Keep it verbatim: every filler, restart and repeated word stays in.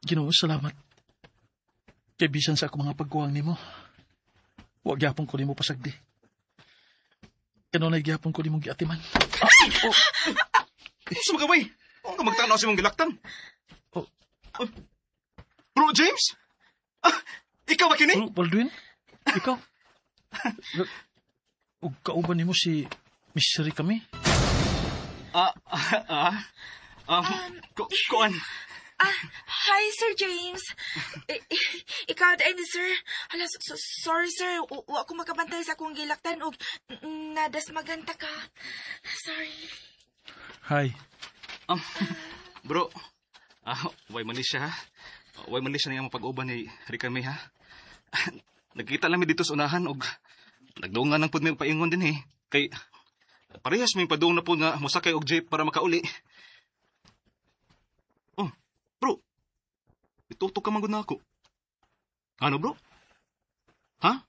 Ginoo, salamat. Kay bisan sa akong mga pagkuwang nimo, wa gyapon ko nimo pasagdi. Kanunay gyapon ko nimo giatiman. Ah, oh, Unsa man ka, bay? Unsa ka magtanaw sa imong gilaktan? Oh. Oh. Bro James? Ah, ikaw ba kini? Bro, Baldwin? Ikaw? Ug kauban nimo si Miss Ricami? Ah, ah, ah. Um, ku kuan. Ah, hi, Sir James. I- i- ikaw diay ni sir. Hala, so, so- sorry sir. U- Wa ko makabantay sa akong gilaktan og nadasmagan ta ka. Sorry. Hi. Um, bro, ah, way man ni siya ha. Way man ni siya nga mapag-uban ni Rika May ha. Nagkita lang mi dito sa unahan og nagdungan lang pud mi og paingon din eh. Kay parehas may padung na po nga mosakay og jeep para makauli. Oh, bro. Itutok ka man gud nako. Ano, bro? Ha?